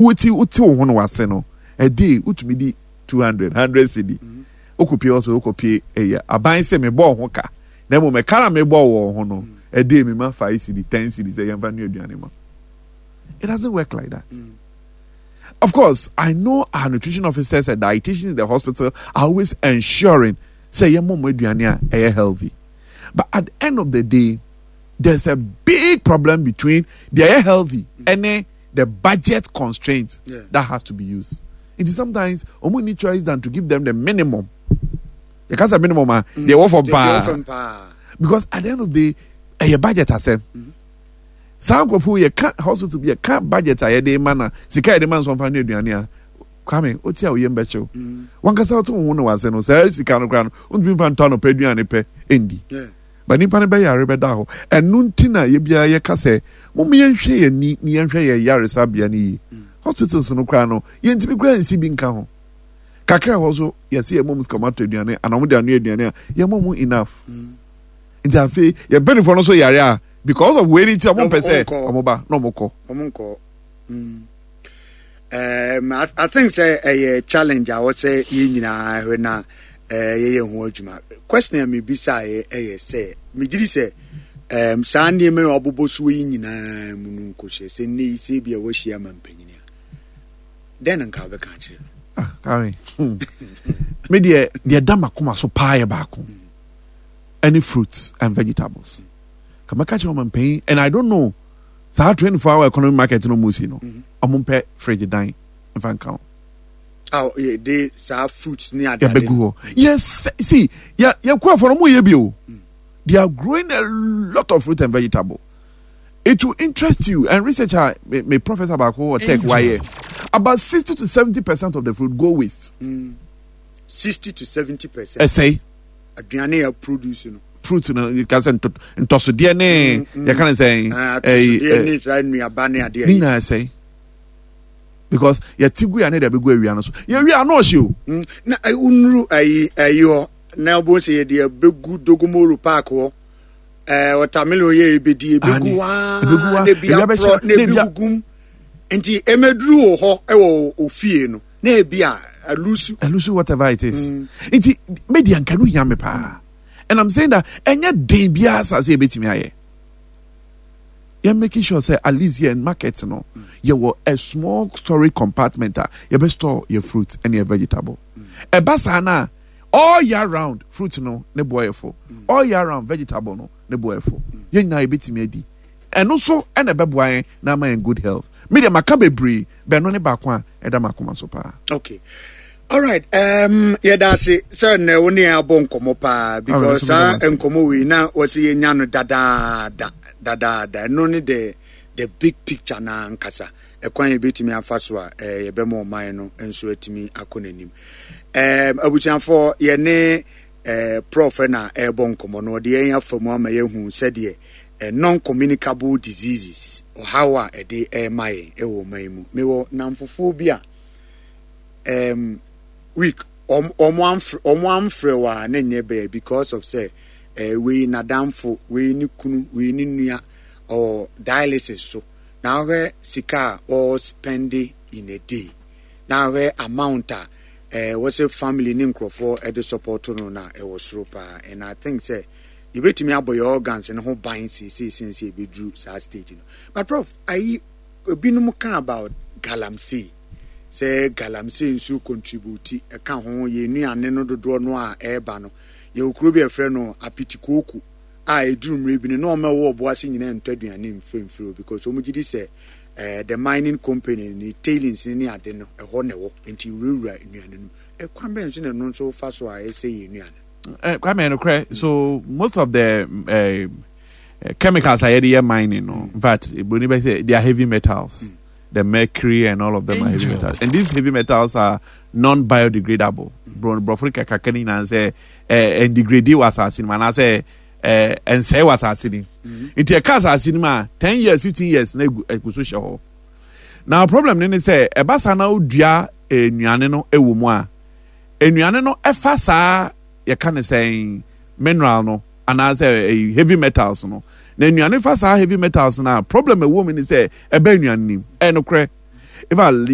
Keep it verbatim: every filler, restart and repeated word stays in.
Woti wote wo ho no wase no, a day wotumi di two hundred hundred cedi. Wokɔpie hɔ so wokɔpie ɛyɛ aban sɛ mebɔɔ ho ka na mmom ɛka na mebɔɔ wɔ ho no, a day mema five cedi, ten cedi sɛ yɛmfa nua aduane ma. It doesn't work like that. Mm. Of course, I know our nutrition officers and dietitians in the hospital are always ensuring sɛ yɛmmɔ mo aduane a ɛyɛ healthy. But at the end of the day, there's a big problem between the ɛyɛ healthy and the budget constraint yeah. that has to be used. It is sometimes ɔmo need choice than to give them the minimum. You can't say minimum ah, mm. They work for bar. Because at the end of the day, ɛyɛ budget asɛm. Mm. Saa nkurɔfoɔ yɛ ka hospital bi yɛ ka budget a yɛde ma na sika yɛde ma nsɔnfa ne aduane a, Kwame, o ti a oyɛ mbɛkyew. Wankasa ɔte wo ho na wase no saa sika no koraa no ntumi nfa ntɔ anɔpɛ aduane pɛ ndi. Ba nipa no bɛyare bɛda hɔ. Ɛno nti na yɛ biara yɛka sɛ mom yɛnhwɛ yɛn ani na yɛnhwɛ yɛn yaresabea no yie. Hospitals no koraa no yɛntumi koraa nsi bi nka ho. Kakra ɛhɔ so yɛsɛ yɛmɔ mu sika ɔmo atɔ aduane anaa ɔmo de anoa aduane a, yɛmɔ mu enough. Nti afei yɛn mpanimfoɔ no so yare a, because of wei ni nti ɔmo mpɛ sɛ ɔmo ba na ɔmo kɔ. Ɔmo nkɔ. Mm. Um, I, I think sɛ ɛyɛ challenge a wɔsɛ yɛn nyinaa hwɛ na uh, yɛyɛ ho adwuma. Question a mebisa yɛ ɛyɛ sɛ megye di sɛ um, saa nneɛma yi a wɔabobɔ so yi nyinaa mu no nkɔhyɛ sɛ nnɛ yi sɛ bi a wɔahyia ma mpanyini a, dɛn na nka wobɛka akyerɛ no? Ah, Karen, hmm. Me deɛ deɛ da makoma so paa yɛ baako, ɛne fruits and vegetables. Kàmɛka kyerɛ ɔma mpanyin, and I don't know saa twenty four hour economy market no mu si no, ɔmo mpɛ fridge dan nfa nka ho. Aw yɛ de saa fruits ne ade ade. Yɛbɛgu hɔ. Yes, see, yɛ yɛ kuafo no mo yɛ bi o. They are growing a lot of fruit and vegetable. It will interest you, and research a me, me professor baako wɔ tech wayɛ. About sixty to seventy percent of the fruit go waste. Mm. Sixty to seventy percent. Ɛsɛe. Aduane yɛ produce no. Fruit no ka sɛ ntɔsodeɛ ne mm, mm. yɛka ne sɛn. Ah, atosodeɛ ne saa nnuaba ne adeɛ. Ne nyinaa ɛsɛe because yɛte gu yɛ ne de abɛgu awia no so, yɛwia ano ɔhye o. Mm, na wonuru ayi ayi hɔ na wobɛhu sɛ yɛde abɛgu Dogomoro Park hɔ, ɛɛ watermelon yɛ ebedi ebegu waa na ebi aporɔ na ebi gugum, nti emeduru wɔ hɔ ɛwɔ ofie no na ebi a alusu. Alusu, whatever it is. Mm. Nti media nka no hia me paa. And I'm saying that ɛnyɛ den biara asase ebetumi ayɛ. Yɛn making sure sɛ at least yɛn market no yɛwɔ a small storage compartment a yɛbɛ store yɛ fruit ɛne yɛ vegetable. Ɛba saa na all year round fruit no ne boɔ yɛ fo, all year round vegetable no ne boɔ yɛ fo, yɛn nyinaa yɛbɛtumi adi. Ɛno nso ɛna ɛbɛboa yɛn na ama yɛn good health. Me deɛ maka bebree bɛno ne baako a ɛda m'akoma so paa. Okay, alright, um, yɛda ase sɛ nnɛ wo ne yɛn abɔ nkɔmmɔ paa, because saa nkɔmmɔ wei na wɔsɛ yɛnya no dadaada dadaada. Ɛno ne the the big picture na ankasa ɛkwan yɛbɛtumi afa so a eh, yɛbɛma ɔman no nso atumi akɔ n'anim. um, abusuafoɔ, yɛne eh, Prof na ɛrebɔ nkɔmmɔ no, ɔde yɛn afa mu ama yɛahu sɛdeɛ eh, non-communicable diseases ɔhaw a ɛde ɛrema yɛn ɛwɔ ɔman yi mu. Mewɔ namfofoɔ bi a um, week ɔmo amfrɛ ɔmo amfrɛ wɔ a na nyɛ bɛyɛ because of sɛ eh, wei n'adamfo, wei ne kunu, wei ne nua ɔwɔ dialysis so, na ahwɛ sika a ɔspend in a day, na ahwɛ amount a eh, wɔsɛ family ne nkurɔfoɔ ɛde support no na ɛwɔ soro paa. And I think sɛ yɛbɛtumi abɔ yɛ organs no ho ban seesei sen sɛ yɛbɛduru saa stage no. But Prof, ayi ebinom ka about galamsey, sɛ galamsey nso contribute ɛka ho yɛn nnuane no dodoɔ no a ɛreba no. Yɛwɔ kuro bi a yɛfrɛ no Apitikooko a ɛduru mmerɛ bi no na wɔn a ɛwɔ ɔbo ase nyinaa ntɔ aduane mfiri mfiri hɔ because wɔn gye di sɛ eh, the mining company ne tailings ne ne ade no ɛhɔ na ɛwɔ, nti wurawura nnuane no mu. Ɛkwan bɛn so na ɛno nso fa so a ɛsɛ yɛn nnuane? Eh, Kwame, nokorɛ, so most of the uh, chemicals a yɛde yɛ mining no, in fact, broni bɛ sɛ they are heavy metals. Mm. The mercury and all of them are heavy metals, and these heavy metals are non-biodegradable. Borɔfo kakaka ne nyinaa sɛ ɛndegrade wɔ asase no mu anaasɛ ɛnsɛe wɔ asase no mu. Nti ɛka asase no mu a, ten years, fifteen years na egu egu so hyɛ hɔ. Na problem ne ne sɛ ɛba saa na odua nnuane no wɔ mu a, nnuane no ɛfa saa yɛka ne sɛn mineral no anaasɛ heavy metals no, na nnuane fa saa heavy metals no a, problem ɛwɔ mu ne sɛ ɛbɛ nnuane nim. Ɛyɛ nokorɛ, Eva.